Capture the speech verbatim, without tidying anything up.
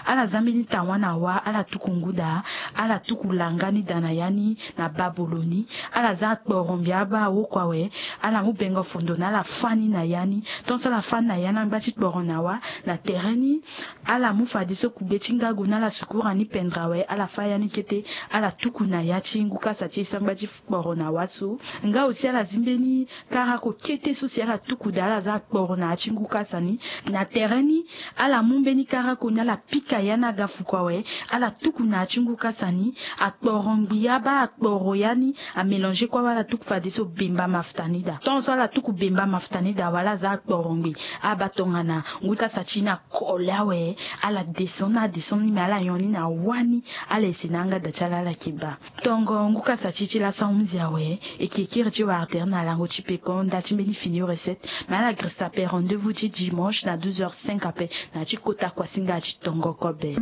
Ala za mbeni tawa na wa, ala tuku ngu daa. Ala tuku langa ni daa na ya ni na babolo ni. Ala za akporo ngbi abaa awokua awe. Ala mu bengo fondo na ala fâ ni na ya ni. Tonso ala fâ ni na ya ni angba ti kporo na wa na tere ni. Ala mu fadeso kugbe ti ngagu na ala sukura ni pendra awe, ala fâ ya ni kete. Ala tuku na ya ti ngu kasa ti e sangba ti kporo na wa so. Nga aussi ala zi mbeni karako kete so si ala tuku daa, ala za akporo na ya ti ngu kasa ni. Na tere ni, ala mu mbeni karako ni, ala pika ya ni aga fuku awe. Ala tuku na ya ti ngu kasa ni. Akporo ngbi abaa akporo ya ni amélanger kue awe, ala tuku fadeso bemba mafuta ni daa. Tonso ala tuku bemba mafuta ni daa awe, ala za akporo ngbi abaa tongana ngu kasa ti e ni akole awe. Ala descend ni, ala descend ni, mais ala nyon ni na wa ni. Ala ese na yanga da ti ala, ala yeke baa. Tongo ngu kasa ti e ti laso ahunzi awe. E yeke kiri ti wara tere na lango ti peko nda ti mbeni fini recette. Mais ala girisa ape, rendez-vous ti dimanche na douze heures cinq ape na ya ti kota kuasinga ti tongo kobe.